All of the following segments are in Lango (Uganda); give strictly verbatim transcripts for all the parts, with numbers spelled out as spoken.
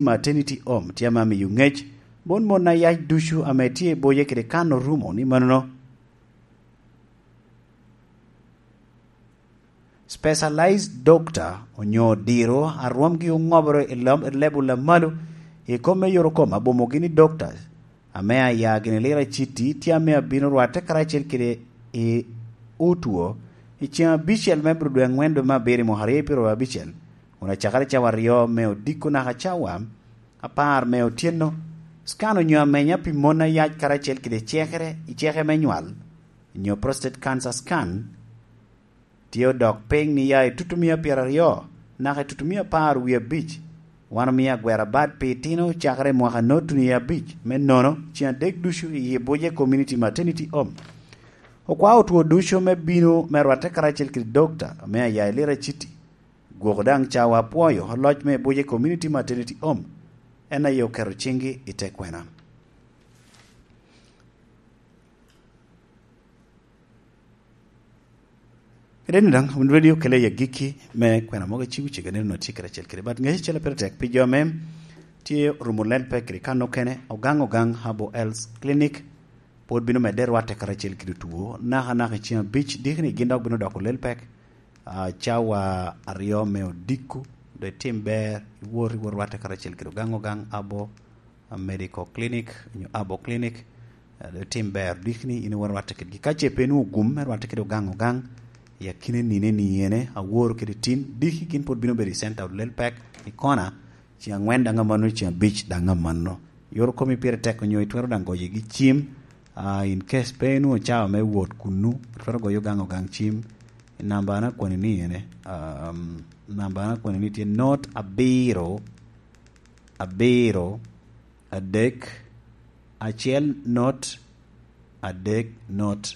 Maternity Home tye ame amiyo ŋec bot mon a yac ducu ame tye i boye kede kan orumo ni manono. Specialized doctor onyo diro a rwomgi oŋobere i leb-, i level a malo i kom me yorokom abomogi ni doctors ame aya gini lira citi tye ame abino rwatte karacel kede i otwo i ceŋ abicel me bro dwe aŋwen dwe me abiro i mwaka aryo i pyero abicel, kun acakere cawa aryo me odiko naka cawa apar me otyeno. Scan onyo amenya pi mon a yac karacel kede cekere i ceke me nywal, nyo prostate cancer scan, tye odok piny ni ya i tutumia pyeraryo naka i tutumia apar wie abic. Wan omio agwera bad pi itino cakere i mwaka noto ni abic me nono ceŋ adek ducu i Ibuce Community Maternity Home. Okwao otwo ducu me bino me rwatte karacel kede dokta ame aya i Lira City. Gwoko daŋ cawa apwoyo oloc me Ibuce Community Maternity Home, en aye oketo ciŋgi i te kwena. Kede ni daŋ, wun ready okele i agikki me kwena mogo ecigo cege nino tye kede acel kede. But ŋec acel a pire tek pi jo ame tye orumo lel pek kede kan okene, Ogang Ogang Herbal Health Clinic pwod bino medde rwatte karacel kede otwo, naka naka i ceŋ abic diki ni gin dok bino doko lel pek, ah, cawa aryo me odiko, do itim ber, iwot, iwot rwatte karacel kede Ogang Ogang Herbal, ah, Medical Clinic, onyo Herbal Clinic, ah, do itim ber, diki ni in iwot rwatte kedgi. Ka ce pe inwoŋo gum me rwatte kede Ogang Ogang, i akine nine ni ene, awor kede tin, diki gin pwod bino bedo i center of lel pek, i kona, ceŋ aŋwen daŋ amanno, ceŋ abic daŋ amanno. Yoro komi pire tek onyo itwero daŋ goyogi cim, ah, in case pe inwoŋo cawa me wot kunnu, itwero goyo Ogang Ogang cim. I namba na kwani ni ene, um, namba na kwani ni tye not abiro, abiro, adek, acel not, adek not,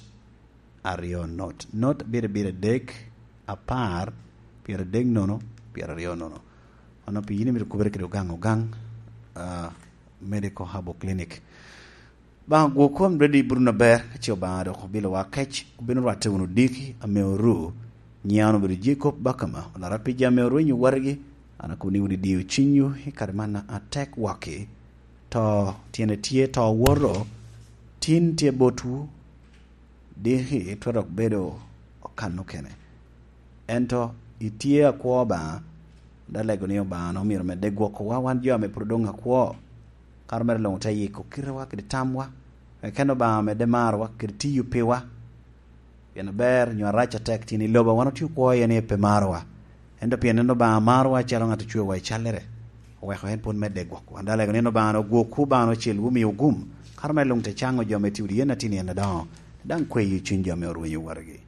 aryo not. Not abiro abiro adek, apar, pyero adek nono, pyero aryo nono. Ono pi yin imito kubere kede Ogang Ogang, ah, Medical Herbal Clinic. Obaŋa gwok kom ready Bruno ber, ka ce Obaŋa dok obilowa kec, obino rwatte wunu diki ame oru. Nyiŋa obedo Jacob Bakama, olara pi jami orwenyo wargi, an akobo ni wun idio cunywu i kare man atek waki. To tyene tye, to woto, tin tye botwu, diki twero dok bedo okan okene. Ento itye akwo Obaŋa, da lego ni Obaŋa omyero medde gwokowa wan jo ame pwod odoŋ akwo, kara mere luŋ te yiko kitewa kede tamwa, eken Obaŋa medde marowa kede tiyo piwa. Pien aber nyo arac atek tyen i lobo wan otye okwo iye ni pe marowa. Ento pien en Obaŋa marowa acalo ŋat ocwewa i callere, oweko en pwod medde gwokwa. Da lego ni en Obaŋa ogwokwu, Obaŋa ocel wumi ogum, kara mere luŋ te caŋo jo ame tye odi yen atin yen adoŋo, daŋ kweyo cuny jo ame orwenyo wargi.